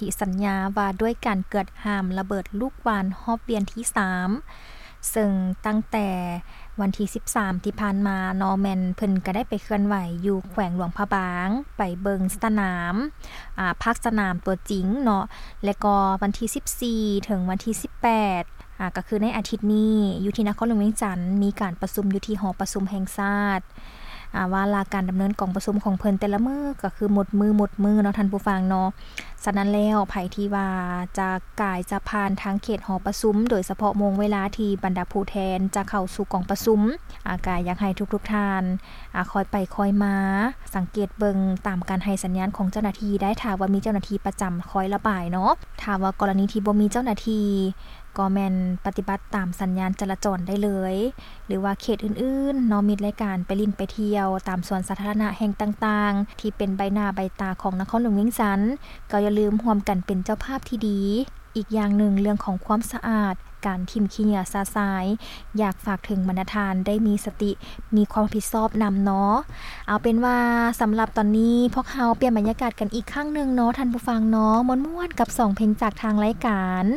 ທິສັນຍາວ່າດ້ວຍການເກືອດຫ້າມລະເບີດລູກຫວ່ານຮອບວຽນທີສາມ ເຊິ່ງຕັ້ງແຕ່ວັນທີສິບສາມທີ່ຜ່ານມາເນາະ ແມ່ນເພິ່ນກໍໄດ້ໄປເຄື່ອນໄຫວຢູ່ແຂວງຫຼວງພະບາງ ໄປເບິ່ງສະໜາມ ອາ ພາກສະໜາມຕົວຈິງເນາະ ແລະກໍວັນທີສິບສີ່ເຖິງວັນທີສິບແປດ ອາ ກໍຄືໃນອາທິດນີ້ ຢູ່ທີ່ນະຄອນຫຼວງວຽງຈັນ ມີການປະຊຸມຢູ່ທີ່ຫໍປະຊຸມແຫ່ງຊາດ ອາ ວ່າລະການດຳເນີນກອງປະຊຸມຂອງເພິ່ນແຕ່ລະມື້ກໍຄືໝົດມື້ໝົດມື້ເນາະທ່ານຜູ້ຟັງເນາະ. ສະນັ້ນແລ້ວ ໃຜທີ່ວ່າຈະກາຍຈະຜ່ານທາງເຂດຫໍປະຊຸມ ໂດຍສະເພາະໂມງເວລາທີ່ບັນດາຜູ້ແທນຈະເຂົ້າສູ່ກອງປະຊຸມ ອາ ກໍຢາກໃຫ້ທຸກໆທ່ານ ອາ ຄ່ອຍໄປຄ່ອຍມາ ສັງເກດເບິ່ງຕາມການໃຫ້ສັນຍານຂອງເຈົ້າໜ້າທີ່ໄດ້ ຖ້າວ່າມີເຈົ້າໜ້າທີ່ປະຈຳຄອຍລະບາຍເນາະ. ຖ້າວ່າກໍລະນີທີ່ບໍ່ມີເຈົ້າໜ້າທີ່ ກໍແມ່ນປະຕິບັດຕາມສັນຍານຈະລາຈອນໄດ້ເລີຍ ຫຼືວ່າເຂດອື່ນໆເນາະ ມິດລາຍການໄປຫຼິ້ນໄປທ່ຽວຕາມສວນສາທາລະນະແຫ່ງຕ່າງໆ ທີ່ເປັນໃບໜ້າໃບຕາຂອງນະຄອນຫຼວງວຽງຈັນ ກໍຢ່າລືມຮ່ວມກັນເປັນເຈົ້າພາບທີ່ດີ. ອີກຢ່າງໜຶ່ງ ເລື່ອງຂອງຄວາມສະອາດ ການຖິ້ມຂີ້ເຫຍື້ອຊະຊາຍ ຢາກຝາກເຖິງບັນດາທ່ານໄດ້ມີສະຕິ ມີຄວາມຮັບຜິດຊອບນຳເນາະ. ເອົາເປັນວ່າສຳລັບຕອນນີ້ ພວກເຮົາປ່ຽນບັນຍາກາດກັນອີກຄັ້ງໜຶ່ງເນາະທ່ານຜູ້ຟັງເນາະ ມ່ວນໆກັບສອງເພງຈາກທາງລາຍການ.